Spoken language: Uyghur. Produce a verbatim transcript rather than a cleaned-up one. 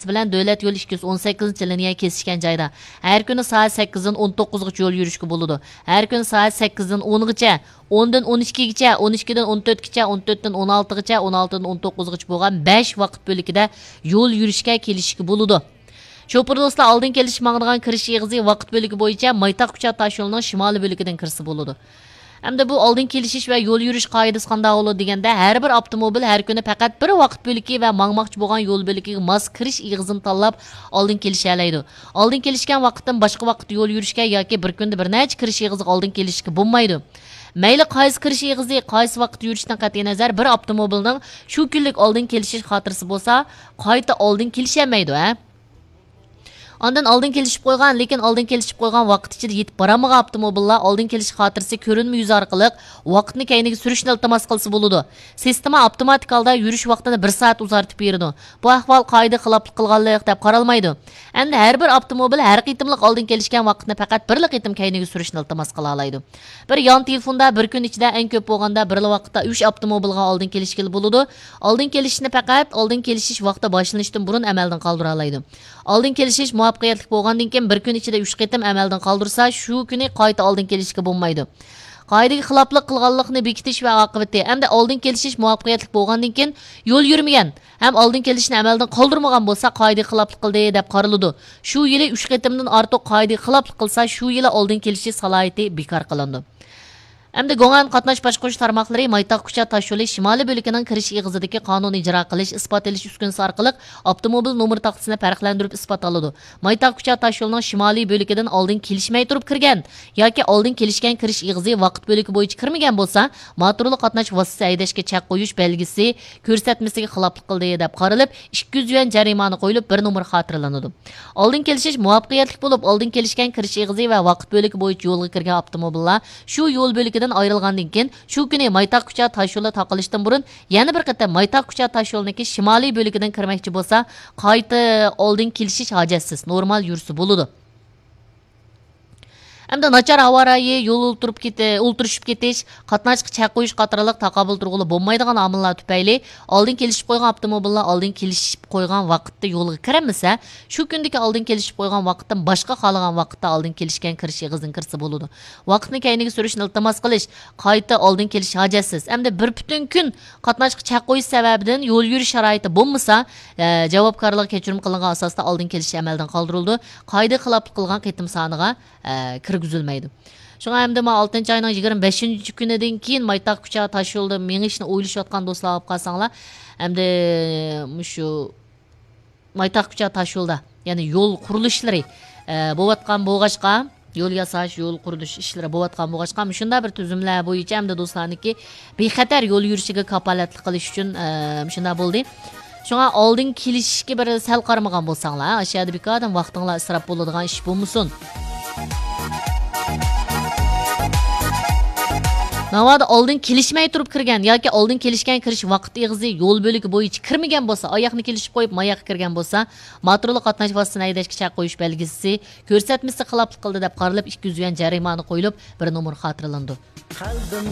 بىلەن دۆلەت يولى ئىككى يۈز ئون سەككىزىنچى لىنىيە كېسىشكەن جايدا ھەر كۈنى سائەت سەككىزدىن ئون توققۇزغىچە يول يۈرۈشكە بولىدۇ. ھەر كۈنى سائەت سەككىزدىن ئونغىچە، ئوندىن ئون ئىككىگىچە، ئون ئىككىدىن ئون تۆتكىچە، ئون تۆتتىن ئون ئالتىغىچە، ئون ئالتىدىن ئون توققۇزغىچە بولغان بەش ۋاقىت بۆلىكىدە يول يۈرۈشكە كېلىشىشكە بولىدۇ. شوپۇر دوستلار، ئالدىن كېلىشىش ماڭىدىغان كىرىش ئېغىزى ۋاقىت بۆلىكى بويىچە مايتاغ كۇچا تاشيولىنىڭ شىمالىي بۆلىكىدىن كىرسە بولىدۇ. ئەمدى بۇ ئالدىن كېلىشىش ۋە يول يۈرۈش قائىدىسى قانداق بولىدۇ دېگەندە، ھەر بىر ئاپتوموبىل ھەر كۈنى پەقەت بىر ۋاقىت بۆلىكى ۋە ماڭماقچى بولغان يول بۆلىكىگە ماس كىرىش ئېغىزىنى تاللاپ ئالدىن كېلىشەلەيدۇ. ئالدىن كېلىشكەن ۋاقىتتىن باشقا ۋاقىتتا يول يۈرۈشكە ياكى بىر كۈندە بىر نەچچە كىرىش ئېغىزىغا ئالدىن كېلىشكە بولمايدۇ. مەيلى قايسى كىرىش ئېغىزى، قايسى ۋاقىتتا يۈرۈشتىن قەتئىينەزەر، بىر ئاپتوموبىلنىڭ شۇ كۈنلۈك ئالدىن كېلىشىش خاتىرىسى بولسا، قايتا ئالدىن كېلىشەلمەيدۇ، ھە؟ ئاندىن ئالدىن كېلىشىپ قويغان، لېكىن ئالدىن كېلىشىپ قويغان ۋاقىت ئىچىدە يېتىپ بارالمىغان ئاپتوموبىللار ئالدىن كېلىش خاتىرىسى كۆرۈنمە يۈزى ئارقىلىق ۋاقىتنى كەينىگە سۈرۈشنى ئىلتىماس قىلسا بولىدۇ. سىستېما ئاپتوماتىك ھالدا يۈرۈش ۋاقتىنى بىر سائەت ئۇزارتىپ بېرىدۇ. بۇ ئەھۋال قائىدىگە خىلاپلىق قىلغانلىق دەپ قارالمايدۇ. ئەمدى ھەر بىر ئاپتوموبىل ھەر قېتىملىق ئالدىن كېلىشكەن ۋاقىتنى پەقەت بىرلا قېتىم كەينىگە سۈرۈشنى ئىلتىماس قىلالايدۇ. بىر يان تېلېفوندا بىر كۈن ئىچىدە ئەڭ كۆپ بولغاندا بىرلا ۋاقىتتا ئۈچ ئاپتوموبىلغا ئالدىن كېلىشكىلى بولىدۇ. ئالدىن كېلىشىشنى پەقەت ئالدىن كېلىشىش ۋاقتى باشلىنىشتىن بۇرۇن ئەمەلدىن قالدۇرالايدۇ. ئالدىن كېلىشىش مۇۋەپپەقىيەتلىك بولغاندىن كېيىن بىر كۈن ئىچىدە ئۈچ قېتىم ئەمەلدىن قالدۇرسا، شۇ كۈنى قايتا ئالدىن كېلىشكە بولمايدۇ. قائىدىگە خىلاپلىق قىلغانلىقنى بېكىتىش ۋە ئاقىۋىتى ھەمدە ئالدىن كېلىشىش مۇۋەپپەقىيەتلىك بولغاندىن كېيىن يول يۈرمىگەن ھەم ئالدىن كېلىشنى ئەمەلدىن قالدۇرمىغان بولسا، قائىدىگە خىلاپلىق قىلدى دەپ قارىلىدۇ. شۇ يىلى ئۈچ قېتىمدىن ئارتۇق قائىدىگە خىلاپلىق قىلسا، شۇ يىلى ئالدىن كېلىشىش سالاھىيىتى بىكار قىلىنىدۇ. ئەمدى گوڭئەن قاتناش باشقۇرۇش تارماقلىرى مايتاغ كۇچا تاشيولى شىمالىي بۆلىكىنىڭ كىرىش ئېغىزىدىكى قانۇن ئىجرا قىلىش، ئىسپات ئېلىش ئۈسكۈنىسى ئارقىلىق ئاپتوموبىل نومۇر تاختىسىنى پەرقلەندۈرۈپ ئىسپات ئالىدۇ. مايتاغ كۇچا تاشيولىنىڭ شىمالىي بۆلىكىدىن ئالدىن كېلىشمەي تۇرۇپ كىرگەن ياكى ئالدىن كېلىشكەن كىرىش ئېغىزى ۋاقىت بۆلىكى بويىچە كىرمىگەن بولسا، موتورلۇق قاتناش ۋاسىتىسى ھەيدەشكە چەك قويۇش بەلگىسى كۆرسەتمىسىگە خىلاپلىق قىلدى دەپ قارىلىپ، ئىككى يۈز يۈەن جەرىمانە قويۇلۇپ، بىر نومۇر خاتىرىلىنىدۇ. ئالدىن كېلىشىش مۇۋەپپەقىيەتلىك بولۇپ، ئالدىن كېلىشكەن كىرىش ئېغىزى ۋە ۋاقىت بۆلىكى بويىچە يولغا كىرگەن ئاپتوموبىللار شۇ يول بۆلىكىدىن ئايرىلغاندىن كېيىن، شۇ كۈنى مايتاغ كۇچا تاشيولى تاقىلىشتىن بۇرۇن يەنە بىر قېتىم مايتاغ كۇچا تاشيولىنىڭكى شىمالىي بۆلىكىدىن كىرمەكچى بولسا، قايتا ئالدىن كېلىشىش ھاجەتسىز، نورمال يۈرسە بولىدۇ. ئەمدى ناچار ھاۋا رايى، يول ئولتۇرۇپ كېتى-، ئولتۇرۇشۇپ كېتىش، قاتناشقا چەك قويۇش قاتارلىق تاقابىل تۇرغىلى بولمايدىغان ئامىللار تۈپەيلى ئالدىن كېلىشىپ قويغان ئاپتوموبىللار ئالدىن كېلىشىپ قويغان ۋاقىتتا يولغا كىرەلمىسە، شۇ كۈندىكى ئالدىن كېلىشىپ قويغان ۋاقىتتىن باشقا خالىغان ۋاقىتتا ئالدىن كېلىشكەن كىرىش ئېغىزىدىن كىرسە بولىدۇ. ۋاقىتنى كەينىگە سۈرۈشنى ئىلتىماس قىلىش، قايتا ئالدىن كېلىش ھاجەتسىز. ئەمدى بىر پۈتۈن كۈن قاتناشقا چەك قويۇش سەۋەبىدىن يول يۈرۈش شارائىتى بولمىسا، ئە، جاۋابكارلىقى كەچۈرۈم قىلىنغان ئاساستا ئالدىن كېلىش ئەمەلدىن قالدۇرۇلىدۇ. قائىدىگە خىلاپلىق قىلغان قېتىم سانىغا، ئە، كىرگۈزۈلمەيدۇ. شۇڭا ئەمدى مانا ئالتىنچى ئاينىڭ يىگىرمە بەشىنچى كۈنىدىن كېيىن مايتاغ كۇچا تاشيولىدا مېڭىشنى ئويلىشىۋاتقان دوستلار بولۇپ قالساڭلار، ئەمدى مۇشۇ مايتاغ كۇچا تاشيولدا، يەنى يول قۇرۇلۇشلىرى، ئە، بولۇۋاتقان بولغاچقا، يول ياساش، يول قۇرۇلۇش ئىشلىرى بولۇۋاتقان بولغاچقا، مۇشۇنداق بىر تۈزۈملەر بويىچە ئەمدى دوستلارنىڭكى بىخەتەر يول يۈرۈشىگە كاپالەتلىك قىلىش ئۈچۈن، ئە، مۇشۇنداق بولدى. شۇڭا ئالدىن كېلىشىشكە بىر سەل قارىمىغان بولساڭلار، ئاشۇ يەردە بىكاردىن ۋاقتىڭلار ئىسراپ بولىدىغان ئىش بولمىسۇن. ناۋادا ئالدىن كېلىشمەي تۇرۇپ كىرگەن ياكى ئالدىن كېلىشكەن كىرىش ۋاقىت ئېغىزى يول بۆلىكى بويىچە كىرمىگەن بولسا، ئاياقنى كېلىشىپ قويۇپ، ماياققا كىرگەن بولسا، موتورلۇق قاتناش ۋاسىتىسىنى ھەيدەشكە چەك قويۇش بەلگىسى كۆرسەتمىسىگە خىلاپلىق قىلدى دەپ قارىلىپ، ئىككى يۈز يۈەن جەرىمانە قويۇلۇپ، بىر نومۇر خاتىرىلىنىدۇ.